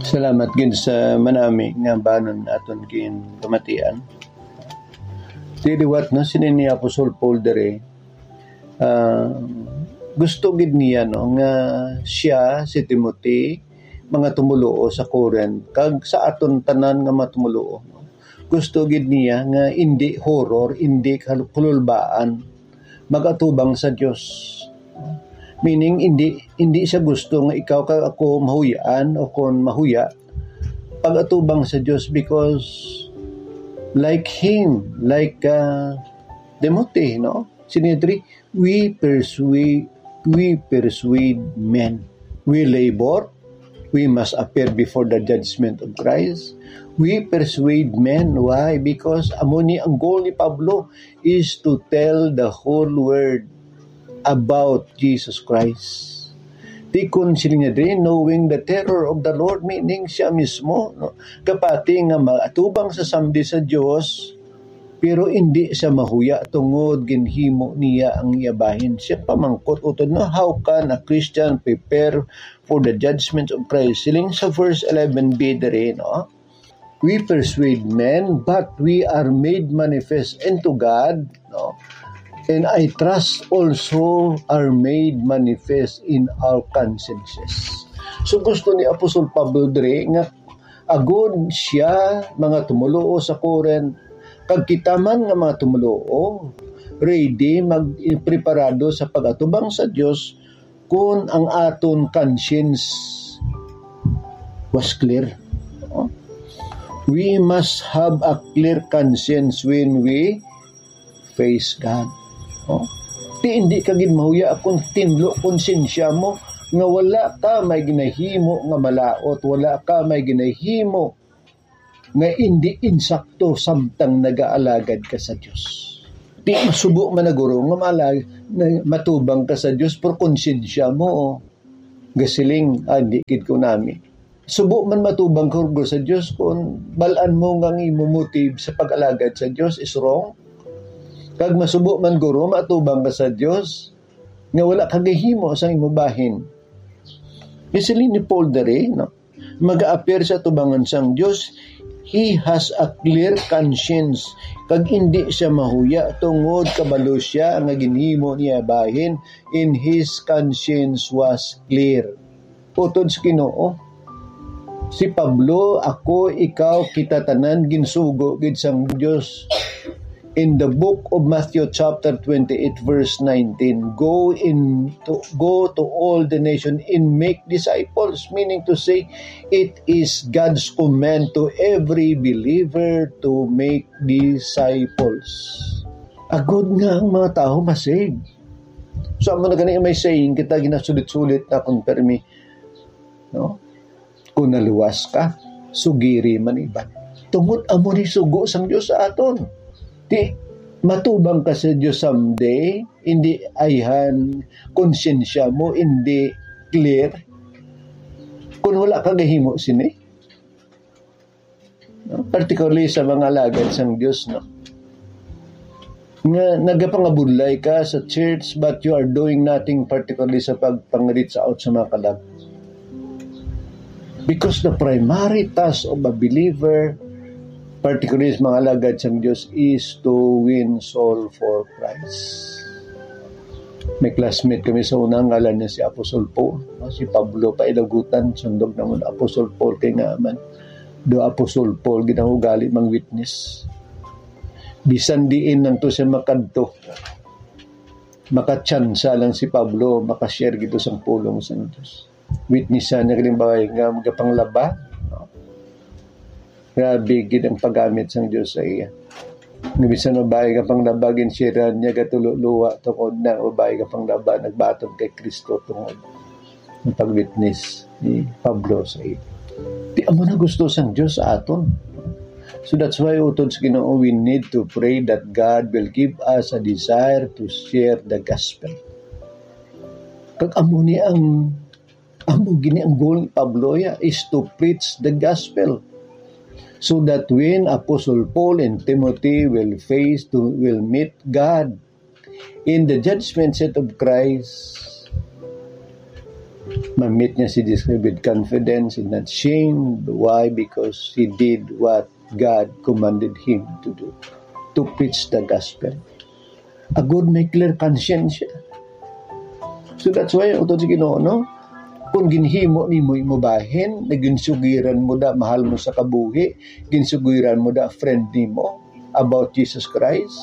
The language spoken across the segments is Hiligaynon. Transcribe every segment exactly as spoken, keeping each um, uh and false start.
Salamat gid sa manami nga banon aton ginpamatian. Di liwat, no, sini ni Apostol Paul diri, ah, gusto gid niya, no, nga siya, si Timothy, mga tumoluo sa Corinth, kag sa aton tanan nga mga tumoluo, no? Gusto gid niya nga indi horror, indi kal-, kululbaan, mag-atubang sa Dios. Meaning, indi, indi siya gusto nga ikaw kag ako mahuy-an o kon mahuya pag-atubang sa Dios, because like him, like, ah, Timothy, no? Sini diri, we persuade, we persuade men. We labor, we must appear before the judgment of Christ. We persuade men. Why? Because amo ni ang goal ni Pablo is to tell the whole world about Jesus Christ. Di kun sila niya diri, knowing the terror of the Lord, meaning siya mismo, no? Kapati nga maatubang sa samdi sa Dios, pero indi siya mahuya tungod ginhimo niya ang iya bahin. Siya pamangkot utod, no? How can a Christian prepare for the judgment of Christ? Siling sa verse eleven b diri, no? We persuade men, but we are made manifest unto God, no? And I trust also are made manifest in our consciences. So gusto ni Apostol Pablo diri nga agod siya, mga tumoluo sa Corinth, kag kita man nga mga tumoluo, ready, mag-, preparado sa pag-atubang sa Dios, kun ang aton conscience was clear. No? We must have a clear conscience when we face God. No? Di, hindi ka gid mahuya kung tinlo konsensya mo nga wala ka may ginahimo nga malaot, wala ka may ginahimo nga indi insakto samtang nagaalagad ka sa Dios. Di masubo man na guro nga maalag-, na matubang ka sa Dios, pero konsensya mo, gasiling, "Ah, di gid ko nami." Subo man matubang ka guro sa Dios kung bal-an mo nga ang imo motive sa pag-alagad sa Dios is wrong. Kag masubo man guro matubang ka sa Dios nga wala ka gahimo sa imo bahin. Gasiling ni Paul diri, no? Mag-appear sa tubangan sang Dios, he has a clear conscience, kag indi siya mahuya tungod kabalo siya nga ginhimo niya bahin, in his conscience was clear. Utod sa Ginoo, si Pablo, ako, ikaw, kita tanan ginsugo gid sang Dios. In the book of Matthew chapter twenty-eight verse nineteen, "Go in to, go to all the nation and make disciples," meaning to say, it is God's command to every believer to make disciples. Agod nga ang mga tawo masave. So, amo na gani may saying kita, ginasulit-sulit na kung permi, no? Kung naluwas ka, sugiri man iban. Tungod amo ni sugo sang Dios sa aton. Di matubang ka sa Dios someday, hindi ayhan konsensya mo, hindi clear. Kung wala ka gahimo sini, no? Particularly sa mga alagad sang Dios, no? Nga nagapangabudlay ka sa church, but you are doing nothing particularly sa pag-reach out sa mga kalag. Because the primary task of a believer, particularly sa mga alagad sang Dios, is to win soul for Christ. May classmate kami sa una, ngalan niya si Apostol Paul. Si Pablo pa ilagutan, sundog naman Apostol Paul kay nga man. Do Apostol Paul, ginaugali mang witness. Bisan diin lang to siya makadto, makatsansa lang si Pablo, makashare gito sang pulong sang Dios. Witness siya niya kining babayi nga magapanglaba. No? Grabe gid ang paggamit sang Dios sa iya. Nga bisan babayi nga panglaba, ginsiran niya gatululuwa tungod na ang babayi nga panglaba nagbaton kay Kristo tungod ang pag-witness ni Pablo sa iya. Di amo na gusto sang Dios sa aton. So that's why, utod sa Ginoo, we need to pray that God will give us a desire to share the gospel. Kag amo ni ang, amo gini ang goal ni Pablo, ya, is to preach the gospel. So that when Apostle Paul and Timothy will face to, will meet God in the judgment seat of Christ, Ma-meet niya si Jesus with confidence and not shame. Why? Because he did what God commanded him to do, to preach the gospel. Agod may clear conscience siya. So that's why, utod sa Ginoo, no? Kung ginhimo nimo imo bahin, naginsugiran mo da mahal mo sa kabuhi, ginsugiran mo da friend nimo about Jesus Christ,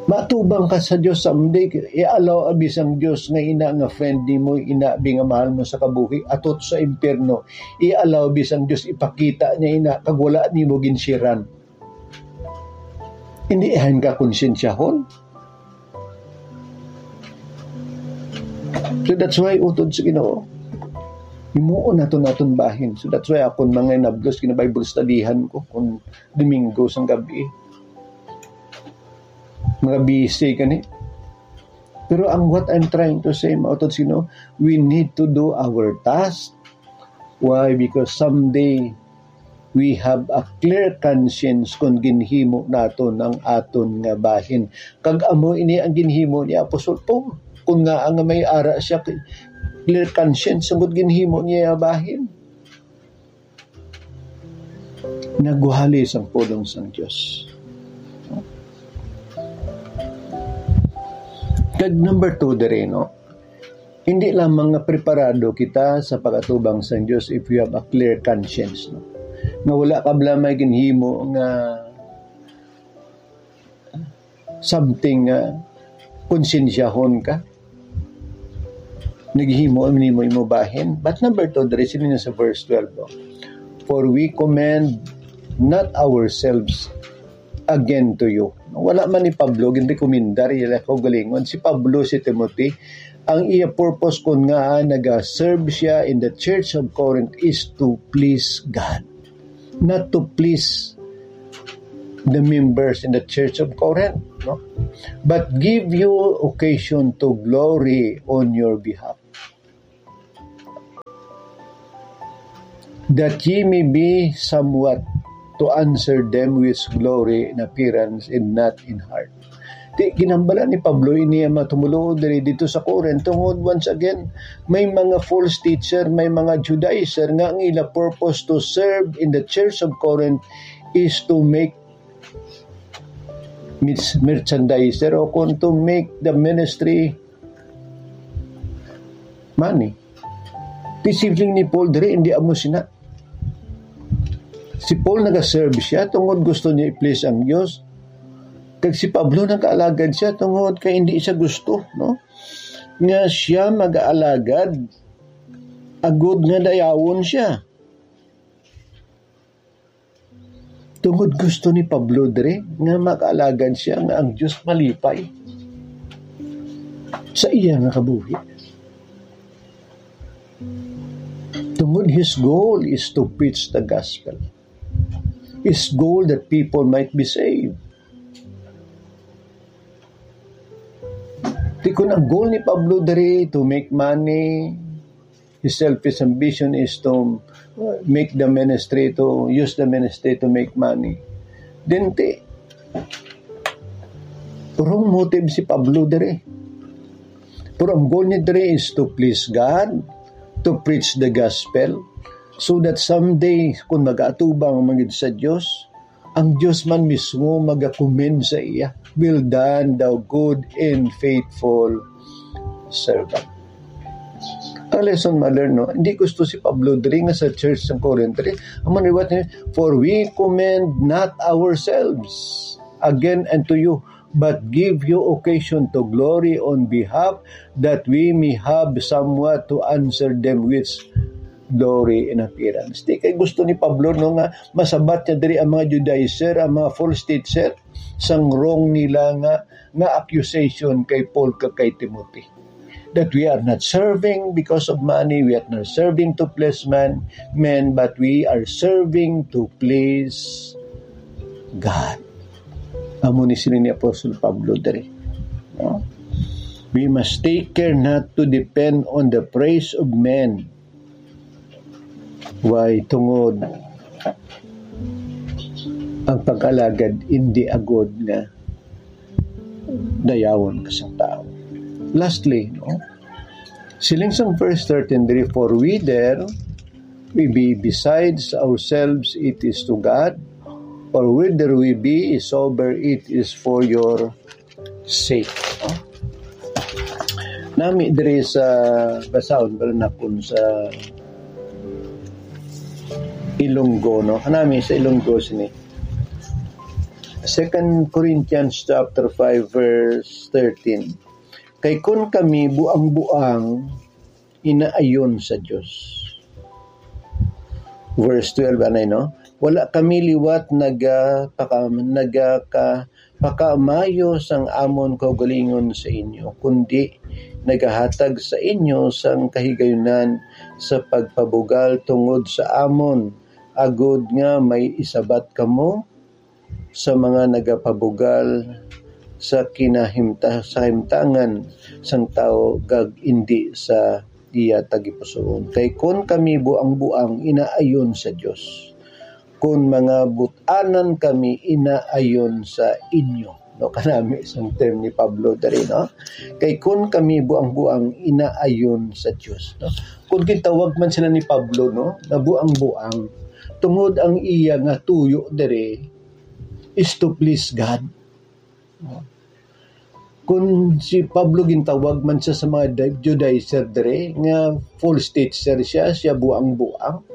matubang ka sa Dios someday. I-allow abi sang Dios nga ina nga friend nimo, ina abi nga mahal mo sa kabuhi, atot sa impyerno. I-allow abi sang Dios, ipakita niya ina kag wala nimo ginsiran. Hindi, ahan ka konsensyahon. So that's why, utod sa Ginoo, himuon naton aton bahin. So that's why akon mga inablos, gina-Bible studyhan ko kung Domingo sang gabi. Mga busy gani. Pero ang, what I'm trying to say, mga utod sa Ginoo, we need to do our task. Why? Because someday, we have a clear conscience kon ginhimo naton ang aton nga bahin. Kag amo ini ang ginhimo ni Apostol Paul. Kon ngaa nga may ara siya, clear conscience, tungod ginhimo niya ang bahin. Nagwali sang pulong sang Dios. Kag number two diri, no? Hindi lamang nga preparado kita sa pag-atubang sang Dios if you have a clear conscience, no? Nga wala ka bala may ginhimo nga something nga konsensyahon ka. Naghimo nimo imo bahin. But number two, diri sini na sa verse twelve, no? "For we commend not ourselves again to you." Wala man ni Pablo ginrekomendar iya kaugalingon. Si Pablo, si Timothy, ang iya purpose kon ngaa naga-serve siya in the church of Corinth is to please God, not to please the members in the church of Corinth, no? "But give you occasion to glory on your behalf, that ye may be somewhat to answer them which glory in appearance and not in heart." Ti, ginhambala ni Pablo ini ang mga tumuluo diri dito sa Corinth, tungod, once again, may mga false teacher, may mga Judaizer nga ang ila purpose to serve in the church of Corinth is to make mis-, merchandiser o kung to make the ministry money. Ti, siling ni Paul diri, hindi amo sina. Si Paul nagaserve siya tungod gusto niya i-please ang Dios. Kag si Pablo nagaalagad siya tungod kay hindi siya gusto, no? Nga siya magaalagad agud nga dayawon siya. Tungod gusto ni Pablo diri nga makaalagad siya nga ang Dios malipay sa iya nga kabuhi. Tungod his goal is to preach the gospel. His goal that people might be saved. Di, kung ang goal ni Pablo diri to make money, his selfish ambition is to, uh, make the ministry, to use the ministry to make money. Then, ti, wrong motive si Pablo diri. Pero ang goal niya diri is to please God, to preach the gospel, so that someday, kung mag-aatubang man gid sa Dios, ang Dios man mismo magakomend sa iya, "Well done, thou good and faithful servant." Ang lesson ma-learn, no? Hindi gusto si Pablo diri nga sa church sa Corinth diri. Amo ni what, "For we commend not ourselves again unto you, but give you occasion to glory on behalf, that we may have somewhat to answer them which glory in appearance." Di kay gusto ni Pablo, no, nga masabat niya diri ang mga Judaizer, ang mga false teacher, sang wrong nila nga, nga accusation kay Paul kag kay Timothy, that we are not serving because of money, we are not serving to please man, men, but we are serving to please God. Amo ni sini ni Apostol Pablo diri, no? We must take care not to depend on the praise of men. Why? Tungod ang pag-alagad hindi agod nga dayawon ka sa tao. Lastly, no? Siling sang verse thirteen diri, "For whether we be besides ourselves, it is to God, or whether we be sober, it is for your sake." No? Nami diri sa, basahon ba nakon sa Ilonggo, no? Nami sa Ilonggo sini. Second Corinthians chapter five, verse thirteen. Kay kun kami buang-buang, inaayon sa Dios. Verse twelve, anay, no? Wala kami liwat nagapaka-, nagaka-, pakaamayo sang amon kaugalingon sa inyo, kundi nagahatag sa inyo sang kahigayunan sa pagpabugal tungod sa amon, agod nga may isabat kamo sa mga nagapabugal sa kinahimta-, sa kahimtangan sang tawo, kag indi sa iya tagipusoon. Kay kon kami buang-buang, inaayon sa Dios. Kon mga but-anan kami, inaayon sa inyo. No, kanami sang term ni Pablo diri, no? Kay kon kami buang-buang, inaayon sa Dios, no? Kung gintawag man sila ni Pablo, no, na buang-buang, tungod ang iya nga tuyo diri is to please God. Kun si Pablo gintawag man siya sa mga Di-, Judaizer diri, nga false teacher siya, siya buang-buang.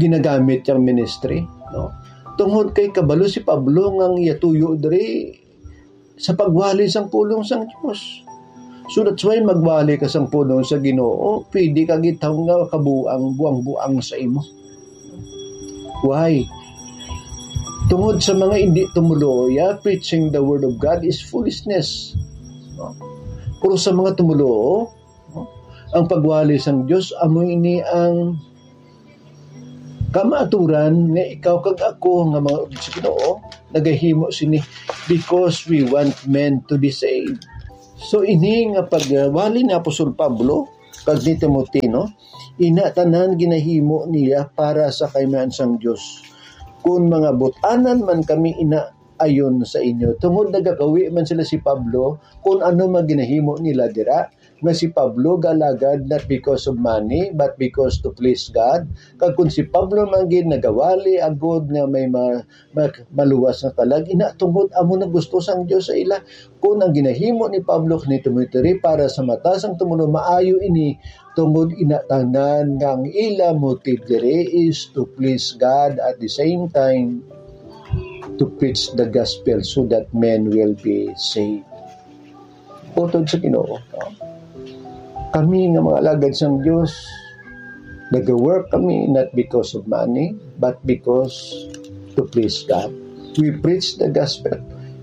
Ginagamit yang ministry, no? Tungod kay kabalo si Pablo nga ang iya tuyo diri sa pagwali sang pulong sang Dios. So that's why magwali ka sang pulong sa Ginoo, pwede ka gitawag nga kabuang, buang-buang sa imo. Why? Tungod sa mga indi tumoluo, ya, preaching the word of God is foolishness. No? Pero sa mga tumoluo, no, ang pagwali sang Dios, amo ini ang kamaturan nga ikaw kag ako nga mga sa Ginoo nagahimo sini because we want men to be saved. So, ini nga pagwali ni Apostol Pablo kag ni Timothy, no, ina tanan ginahimo niya para sa kaimahan sang Dios. Kun mga but-anan man kami, ina ayon sa inyo. Tungod nagakawi man sila si Pablo, kun ano man ginahimo nila dira, nga si Pablo galagad not because of money, but because to please God. Kag kun si Pablo man gid nagawali agod nga may ma-, ma-, maluwas nga kalag, ina tungod amo na gusto sang Dios sa ila. Kun ang ginahimo ni Pablo kini Timothy para sa mata sang tumuluo, maayo ini, tungod ina tanan nga ang ila motive diri is to please God, at the same time to preach the gospel so that men will be saved. Utod sa Ginoo, no? Kami nga mga alagad sang Dios, nag-work kami not because of money, but because to please God. We preach the gospel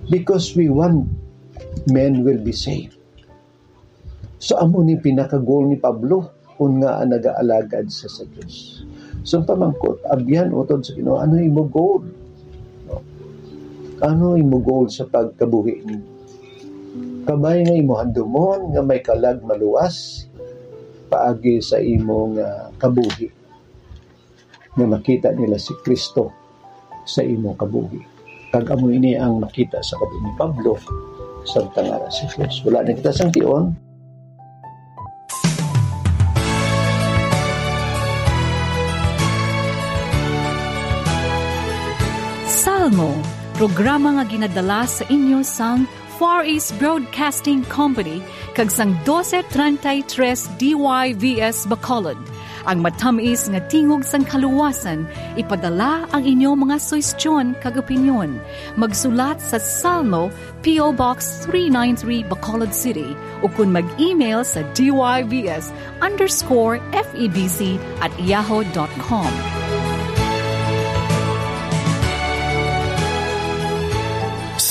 because we want men will be saved. So, amo ni pinaka-goal ni Pablo, kun nga nagaalagad sa, sa Dios. So, ang pamangkot, abyan utod sa Ginoo, ano imo goal? No? Ano imo goal sa pagkabuhi nimo? Kabay nga imo handumon nga may kalag maluwas paagi sa imo nga kabuhi, nga makita nila si Kristo sa imo kabuhi. Kag amo ini ang makita sa kabuhi ni Pablo, samtang ara si Dios. Wala na kita sang tion. Salmo, programa nga ginadala sa inyo sang Far East Broadcasting Company kag sang doce treinta y tres D Y V S Bacolod, ang matamis nga tingog sang kaluwasan. Ipadala ang inyo mga suhestyon kag opinyon. Magsulat sa Salmo, P O Box three nine three, Bacolod City, ukon mag-email sa D Y V S underscore F E B C at yahoo dot com.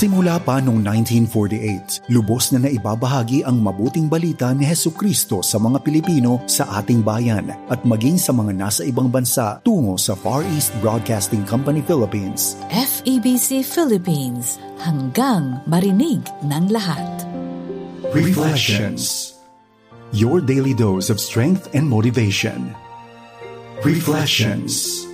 Simula pa noong nineteen forty-eight, lubos na naibabahagi ang mabuting balita ni Jesucristo sa mga Pilipino sa ating bayan at maging sa mga nasa ibang bansa tungo sa Far East Broadcasting Company Philippines. F E B C Philippines, hanggang marinig ng lahat. Reflections. Your daily dose of strength and motivation. Reflections.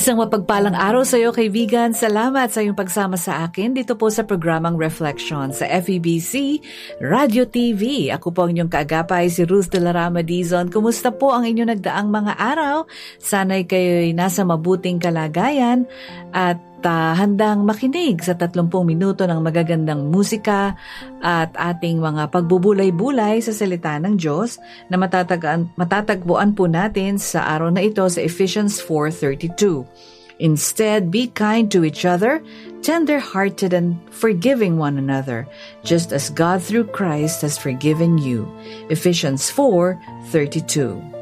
Isang mapagpalang araw sa iyo, kaibigan. Salamat sa iyong pagsama sa akin dito po sa programang Reflection sa F E B C Radio T V. Ako po ang inyong kaagapay, si Ruth de la Rama Dizon. Kumusta po ang inyong nagdaang mga araw? Sana'y kayo'y nasa mabuting kalagayan at ah, handang makinig sa tatlumpung minuto ng magagandang musika at ating mga pagbubulay-bulay sa salita ng Diyos na matatagaan, matatagpuan po natin sa araw na ito sa Ephesians four thirty-two. Instead, be kind to each other, tender-hearted, and forgiving one another, just as God through Christ has forgiven you. Ephesians four thirty-two.